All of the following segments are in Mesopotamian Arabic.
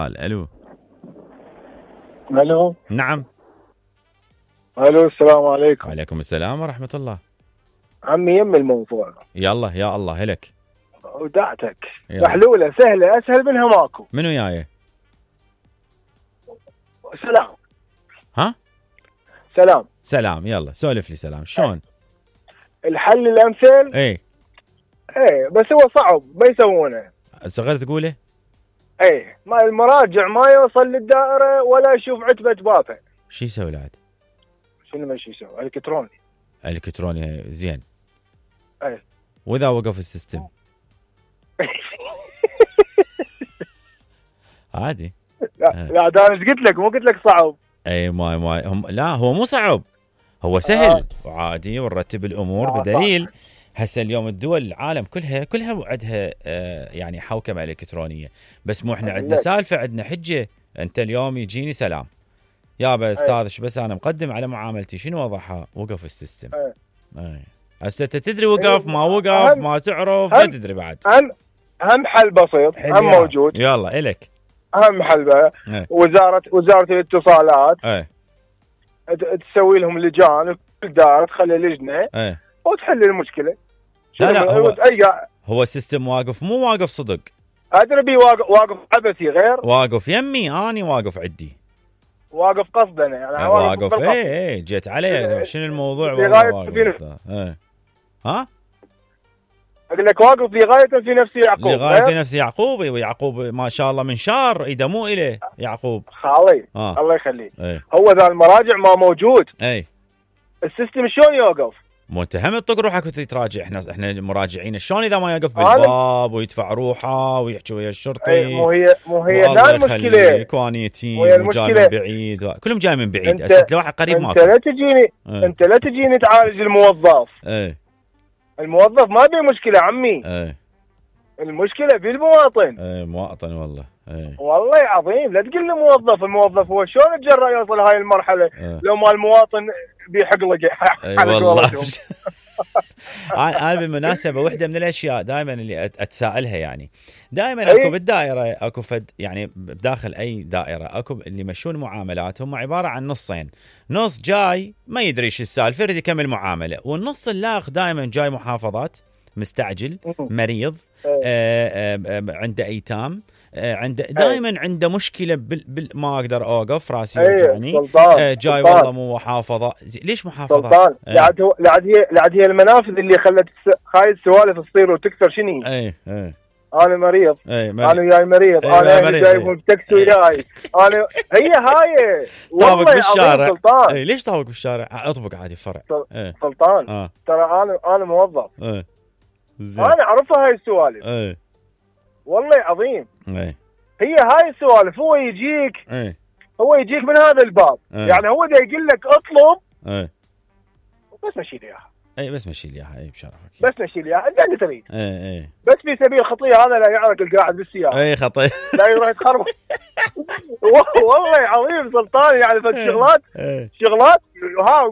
الو. الو. نعم. الو، السلام عليكم. وعليكم السلام ورحمة الله. عمي يم الموضوع. يلا يا الله هلك. ودعتك يلا. محلولة سهلة اسهل منها ماكو. منو جاي؟ سلام. ها؟ سلام. سلام. يلا سولف لي سلام. شلون؟ الحل الامثل. ايه بس هو صعب ما يسوونه. صغير تقوله؟ ما المراجع ما يوصل للدائرة ولا يشوف عتبة بابه. شو يسوي العاد؟ شنو ماشي يسوي؟ الكتروني. الكتروني زين. ايه. واذا وقف السيستم؟ عادي. لا ده انا ايش قلت لك؟ مو قلت لك صعب. اي ما هم لا هو مو صعب، هو سهل وعادي ونرتب الامور بدليل هسه اليوم الدول العالم كلها عندها يعني حوكمه الكترونيه، بس مو احنا عندنا سالفه، عندنا حجه. انت اليوم يجيني سلام يابا استاذ شو بس انا مقدم على معاملتي، شنو وضعها؟ وقف السيستم. هسه انت تدري وقف ما وقف ما تعرف ما تدري بعد. اهم حل بسيط هم موجود. يلا الك اهم حل بقى وزاره الاتصالات تسوي لهم لجان كل دائره تخلي لجنه وتحل المشكله. لا هو السيستم واقف مو واقف صدق. ادري بي واقف عبثي غير واقف يمي اني واقف عندي واقف قصدا يعني واقف جيت عليه شنو الموضوع ها اقول لك واقف لغايه في نفسي يعقوب لغايه في نفسي يعقوب. ويعقوب ما شاء الله من شار اذا مو اله يعقوب خالي الله يخليه. هو ذا المراجع ما موجود. السيستم شلون يوقف؟ مو انت هم تطق روحك وتراجع. احنا مراجعين شلون اذا ما يوقف بالباب ويدفع روحه ويحكي ويا الشرطي. مو هي لا المشكله كوانيتين وجاي من بعيد كلهم جاي من بعيد. هسه لواحد قريب ماكو. انت لا تجيني تعالج الموظف. الموظف ما بيه مشكله عمي. المشكله بالمواطن. مواطن والله. والله عظيم لا تقول لي موظف. الموظف هو شلون يتجرأ يوصل هاي المرحله لو ما المواطن بيحقلق والله. انا بالمناسبه وحده من الاشياء دائما اللي اتساءلها يعني دائما اكو بالدائره اكو فد يعني بداخل اي دائره اكو اللي يمشون معاملات هم عباره عن نصين. نص جاي ما يدري ايش السالفه يريد يكمل معامله، والنص الاخ دائما جاي محافظات مستعجل مريض عنده ايتام عنده دائما عنده مشكله ما اقدر اوقف راسي يوجعني. جاي والله مو محافظه. ليش محافظه؟ سلطان لعد هي المنافذ اللي خلت هاي السوالف تصير وتكثر. شنو انا مريض. انا جاي مريض. انا جايبهم بتاكسي وياي. انا هي هاي والله بالشارع. ليش طابق بالشارع؟ اطبق عادي فرع. سلطان ترى انا موظف. انا اعرفها هاي السوالف. والله عظيم. هي هاي السوالف. هو يجيك من هذا الباب. يعني هو دا يقول لك اطلب بس مشي لي اياها. بس مشي لي اياها بشرفك. بس مشي لي اياها انت تريد. بس في سبيل خطيه هذا لا يعرق القاعد بالسياره. خطيه لا يروح يتخرب. والله عظيم سلطان. يعني شغلات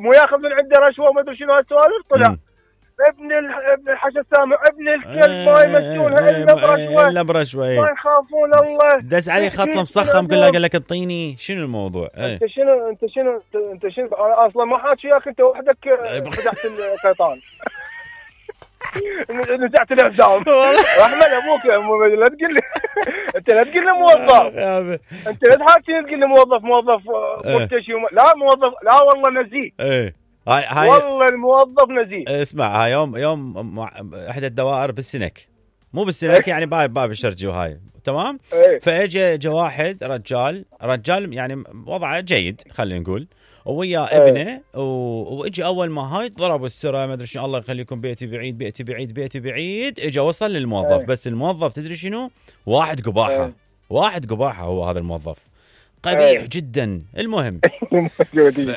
مو ياخذ من عنده رشوه وما ادري شنو هالسوالف. طلع ابن الحشا السامع ابن الكلب ما يمشونها الا برشوه. ما يخافون الله. دس عليه خط مصخم كله قال لك انطيني. شنو الموضوع؟ انت شنو انا اصلا ما حاكي وياك انت وحدك فتحت القيطان. نزعت الاعدام. رحمه ابوك لا تقول لي انت لا تقول لي موظف. انت لا تحاكي تقول لي موظف مرتشي لا موظف لا والله نزيه. هاي والله الموظف نزيه. اسمع هاي يوم احدى الدوائر بالسنك مو بالسنك يعني باب الشرجي وهاي تمام. فاجى واحد رجال يعني وضعه جيد خلينا نقول ويا ابنه واجى اول ما هاي ضربوا السرعه ما ادري شنو. الله يخليكم بيتي بعيد. اجى وصل للموظف. بس الموظف تدري شنو؟ واحد قباحه هو هذا الموظف قبيح جدا. المهم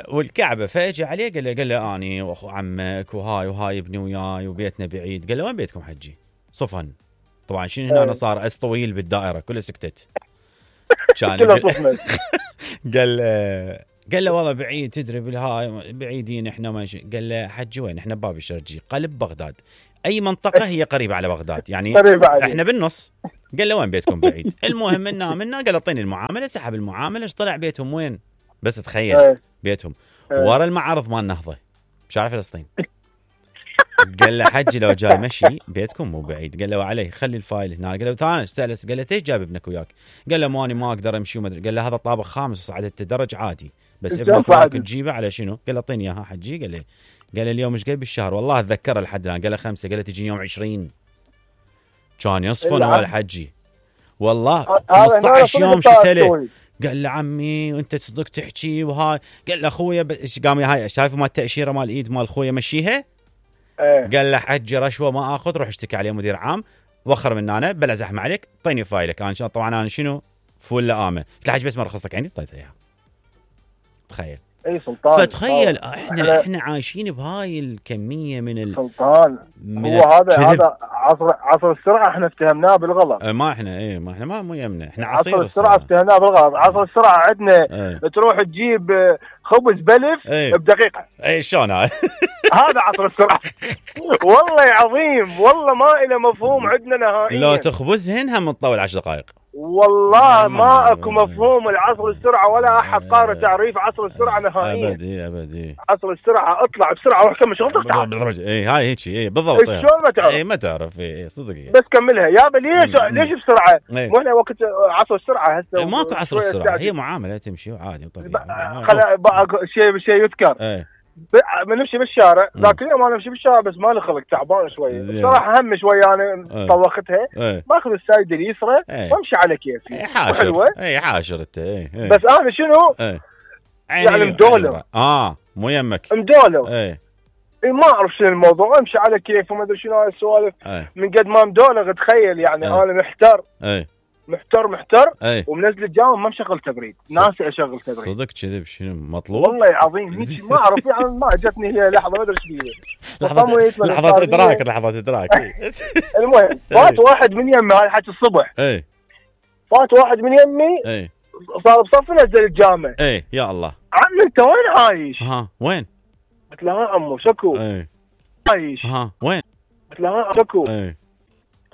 والكعبه فاجى عليه قال له اني واخو عمك وهاي ابني وياي وبيتنا بعيد. قال له وين بيتكم حجي؟ صفن. طبعا شنو هنا صار اس طويل بالدائره كلها سكتت. كان قال له والله بعيد تدري بالهاي بعيدين احنا ماشي. قال له حجي وين؟ احنا باب الشرجي قلب بغداد. اي منطقه هي قريبه على بغداد يعني احنا بالنص قال له وين بيتكم بعيد؟ المهم منا قال اعطيني المعامله، سحب المعامله. ايش طلع بيتهم وين؟ بس تخيل بيتهم ورا المعرض مال النهضه بشارع فلسطين. قال له حجي لو جاي مشي بيتكم مو بعيد. قال له وعليه خلي الفايل هنا. قال له ثاني سأله قال له ليش جايب ابنك وياك؟ قال له ماني ما اقدر امشي وما ادري. قال له هذا طابق خامس وصعدت الدرج عادي، بس ابنك وياك تجيبه على شنو؟ قال له اعطيني اياها حجي. قال له اليوم ايش جاي بالشهر؟ والله اتذكره لحد الان. قال له 5. قال له تجيني يوم 20. كان يصفن هو الحجي والله 15 يوم شتله. قال له عمي وانت تصدق تحكي وهاي. قال له اخويا ايش قام هاي شايف مال التاشيره مال الايد مال اخويا مشيها. قال له حجي رشوه ما اخذ، روح اشتكي عليه مدير عام وخر من انا بلا زحمه عليك، اعطيني فايلك. انا طبعا انا شنو فول لامه. قلت له حجي بس ما رخصتك عندي اعطيته اياها. تخيل اي سلطان. فتخيل احنا عايشين بهاي الكميه من سلطان. هو هذا عصر السرعه احنا اتهمناه بالغلط. ما احنا مو يمنا، احنا عصر السرعه اتهمناه بالغلط. عصر السرعه عندنا تروح تجيب خبز بلف بدقيقه. اي شلون هذا؟ هذا عصر السرعه. والله عظيم، والله ما له مفهوم عندنا نهائيا. لو تخبزهن هم تطول 10 دقائق. والله ما اكو مفهوم العصر السرعه، ولا احد قارئ تعريف عصر السرعه نهائيا. ابدي عصر السرعه اطلع بسرعه روح كمل شغلك بالدرجه. هاي هيك بالضبط. شلون ما تعرف؟ ما تعرف صدق بس كملها يابا. ليش بسرعه؟ مو احنا وقت عصر السرعه هسه ماكو عصر السرعه، هي معامله تمشي وعادي وطبيعي. شيء يذكر نمشي بالشارع ذاك اليوم. انا امشي بالشارع بس ما لي خلق تعبان شويه صراحه، هم شويه انا طوختها. باخذ السايد اليسرى وامشي على كيفي. حلوه حاشر انت. بس انا شنو يعني مدولر. مو يمك مدولر. ما اعرف شنو الموضوع، امشي على كيف وما ادري شنو هاي السوالف. من قد ما مدولر تخيل يعني. انا محتر ومنزل الجامعة ما مشغل تبريد. ناسي اشغل تبريد. صدق كذب شنو مطلوب؟ والله عظيم هيك ما اعرف يعني. ما جتني هي لحظه ما ادري ايش هي لحظات ادراك. المهم فات واحد من يمي. هاي حكي الصبح. فات واحد من يمي صار بصف نزل الجامعة. يا الله عم انت وين عايش؟ وين؟ قلت له ها عمو شكو. عايش. وين؟ قلت له ها شكو.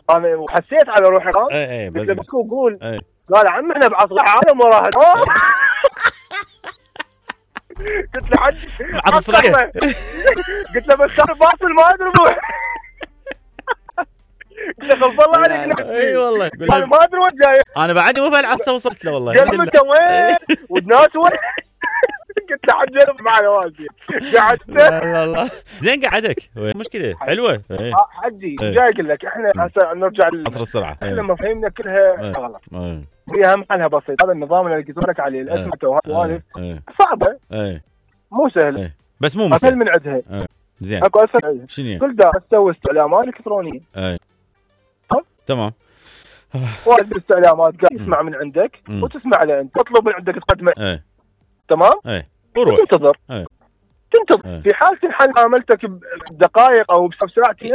انا وحسيت على روحي. قلت له بكو قول. قال عم احنا بعصر العالم وراها. قلت له حد قلت له بس انا باصل ما ادري روح. قلت له خلص الله عليك. اي والله انا ما ادري وين جاي. انا بعد مو بهالعصا وصلت له والله. قال انت وين والناس وين؟ قلت له حجر معي والدي. قعدت والله زين قعدك مشكله حلوه. حجي جاي اقول لك احنا هسه نرجع عصر السرعه. احنا مفاهيمنا كلها غلط. هي اهم حلها بسيط. هذا النظام اللي قلت لك عليه الاسمته وهالسوالف صعبه مو سهله بس مو اسهل من عندها. زين اكو اسهل. شنو كل دا تسوي استعلامات الكترونيه. تمام. واحد الاستعلامات قاعد يسمع من عندك وتسمع له انت، تطلب من عندك تقدمه. تمام. وروح تنتظر. في حال تنحل معاملتك بدقائق او بساعتين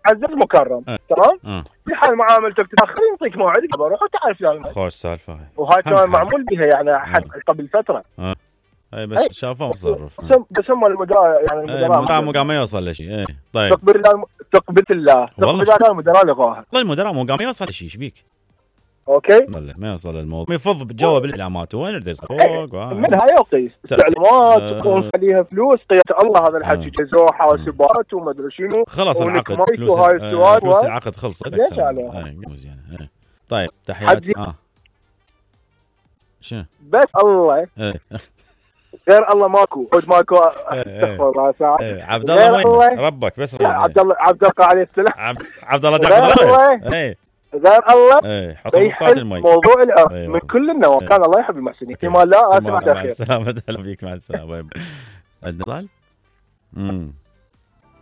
عزيز مكرم. تمام. في حال معاملتك تتاخر يعطيك موعد روح وتعرف يعني. خوش سالفه هاي. وهاي كان معمول بها يعني قبل فتره. بس شافوه متصرف. بس هم المدراء يعني المدراء ما يوصل لشيء. طيب تقبل الله كان المدراء لغاها. والله المدراء مو قام يوصل لشيء ايش بيك؟ اوكي ما يوصل الموضوع يفض بجواب الاعلامات وين يرد فوق منها يقيس استعلامات ونخليها فلوس. قيادة الله هذا الحكي جزوه حاسبات وما ادري شنو. خلص العقد فلوس العقد خلصت. زين طيب تحياتي. شنو بس الله غير الله ماكو استغفر الله ساعه. عبد الله وين ربك بس عبد الله عليه السلام. عبد الله داخل غير الله بيحل موضوع العرف من كل النواحي. كان الله يحب المحسنين. فيما لا اسمع. مع السلامه. هلا بيك مع السلامه. عندنا